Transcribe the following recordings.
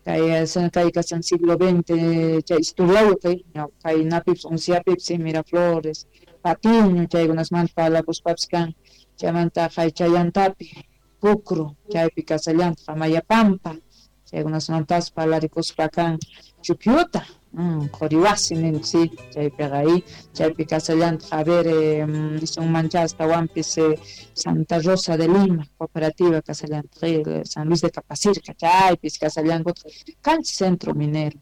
Kay kay kashan siglo XX chay historiayuq kaynapipis unciapipis Miraflores, Patiño chaykunasmanta parlakuspapis kan. Chaymanta Chayantapi, Pucro, chaypi kasallantaq Amayapampa, chaykunasmantas parlarikuspa kan Chupiuta, Quriwasi ninchik chaypiqa ahí, chaypi kasallantaq a ver nisunmancha astawanpis Santa Rosa de Lima, cooperativa kasallantaq San Luis de Capacirca, chaypis kasallankutaq kanchis centro minero.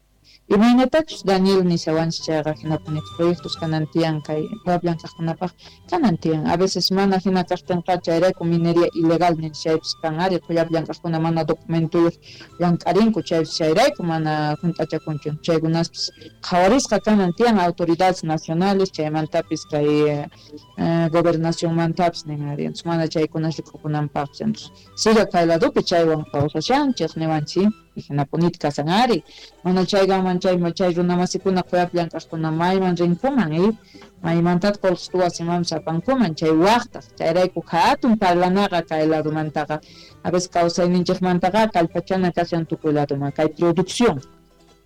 Imaynatachus Daniel nishawanchik chayqa hinapuni proyectos kanan tiyan kay llank'aqkunapaq kanan tiyan. A veces mana hina kaqtinqa chayrayku minería ilegal ninchik chaypis kan ari qullapi llank'aqkuna mana documentuyuq llank'arinku chaypis chayrayku mana hunt'achakunchu. Chaykunaspis qhawarisqa kanan tiyan autoridades nacionales chaymantapis kay gobernacionmantapis nin ari entonces mana chaykuna rikukunanpaqpis entonces siga kay ladopi chaywan kawsashanchik niwanchik. Hinapunita kasan ari mana chaykaman chay chay runamasikuna qullapi llank'aqkuna mayman rinkuman maymantataq qullqita wasimanpis apankuman chay waqtaq chayrayku hatun parlanaqa kay ladomantaqa a veces kawsayninchikmantaqa kallpachana kashan tukuy ladoman kay producción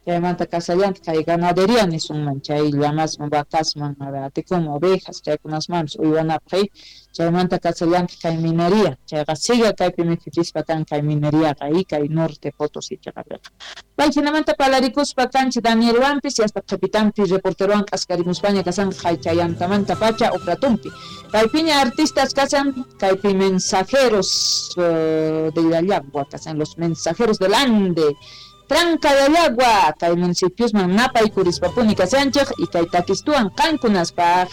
chaymanta kasallantaq kay ganadería nisunman chay llamasman vacasman atikunman ovejas chaykunasmanpis uywanapaq chaymanta kasallantaq kay minería chayqa siga kaypi mikhuchispa kan kay mineriaqa kay Norte Potosí chaqapiqa. Payhinamanta parlarikuspa kanchik Danielwanpis hasta qhipitanpi reporterowan k'askarimuspaña kasanqa chayantamanta pacha uqratumpi. Kaypiña artistas kasan kaypi mensajeros de Llallagua kasan los mensajeros del Ande. Tranca de Llallagua, kay municipiosman napaykurispa kashanchik y kay takistuwan qankunaspaq.